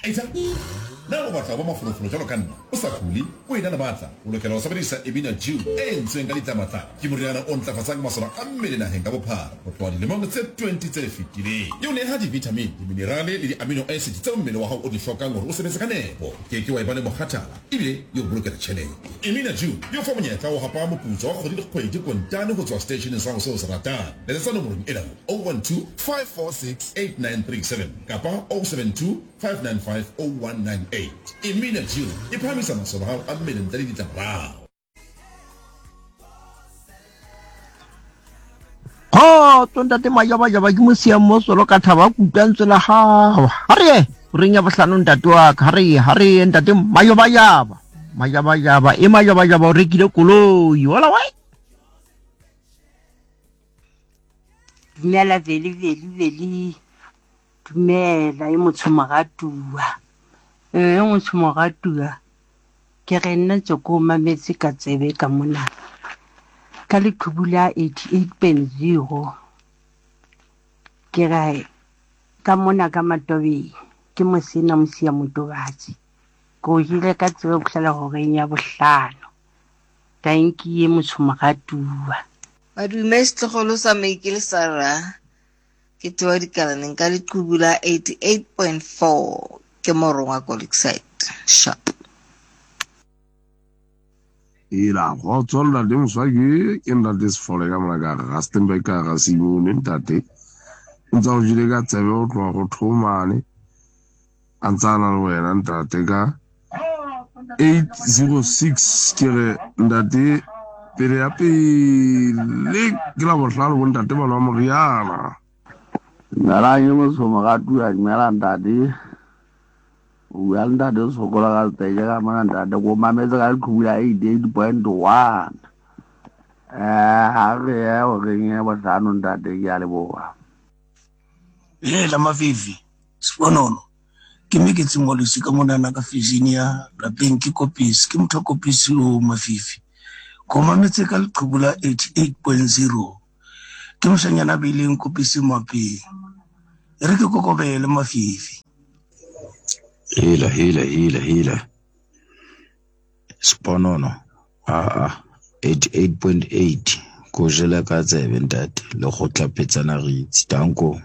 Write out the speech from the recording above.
Etsa Na o batla ho ba mafolofolo jwalo ka nna, o sa kule, o ena le matla? O lokela ho sebedisa Emina Dew e entsweng ka ditlamatlama. Ke moriana o ntlafatsang masole a mmele naheng ka bophara ho tloha dilemong tse 20 tse fetileng. E o neha di-vitamin, diminerale le di-amino acid tseo mmele wa hao o di hlokang hore o sebetse ka nepo. O ke ke wa eba le mokgathala ebile e o bolokela tjhelete. Emina Dew e o fa monyetla wa ho hapa moputso wa kgwedi le kgwedi kontane ho tswa seteisheneng sa hao seo o se ratang. Letsetsa nomorong ena 012 546 8937 kapa 072 595 0198. Emina Dew e phahamisa masole a hao a mmele ntle le ditlamorao. Kgotso ntate Majabajaba ke mosiang mo solo ka thaba ke utlwa ntswe la gago. Ha re ye horeng ya bohlano ntate wa ka. Ha re ye, ha re ye ntate Majabajaba. Majabajaba, e Majabajaba o rekile koloi. Hola wai. Dumela Veli Veli Veli. Dumela e motsho moratuwa. E motsho moratuwa. Ke re nna tse ko mametse ka tsebe ka mona. Ka leqhubu la 88.0. Ke re ka mona ka Matobeng ke mosena mosia motobatsi. Ke o jele ka tsebe go fihlela horeng ya bohlano. Tanki ye motsho moratuwa. Madume setlogolo sa Maikele Sarah ke tsoa dikalaneng ka leqhubu la 88.4 ke morongwa ko Lakeside sharp. Ela kgotso ntate Moswaki ke ntate Sefole ka mona ka Rustenburg ka ga Simone ntate o ntse o jele ka tsebe o tloga go thomane a ntse a na le wena ntate ka 806 ke re ntate pele ya pele ke la bohlano bo ntate ba nwa moriana. Dumelang e motsho moratuwa dumela ntate o bua le ntate o sokola ka seteke ka mona ntate ko mametse ka leqhubu la 88.1 eh ha re ye horeng e bohlano ntate ke a leboha. Hela Mavivi, Sponono, ke me ke tsengwalosi ka monana ka Virginia, lapeng ke Kopisi, ke motho wa Kopisi o Mavivi. Ko mametse ka leqhubu la 88.0. Ke moshanyana a beileng Kopisi mapeng. E re ke kokobele Mavivi. Hela, hela, hela, hela. Sponono, aa, 88.8. Ko jele ka tsebe ntate, le go tlapetsana re itse. Danko.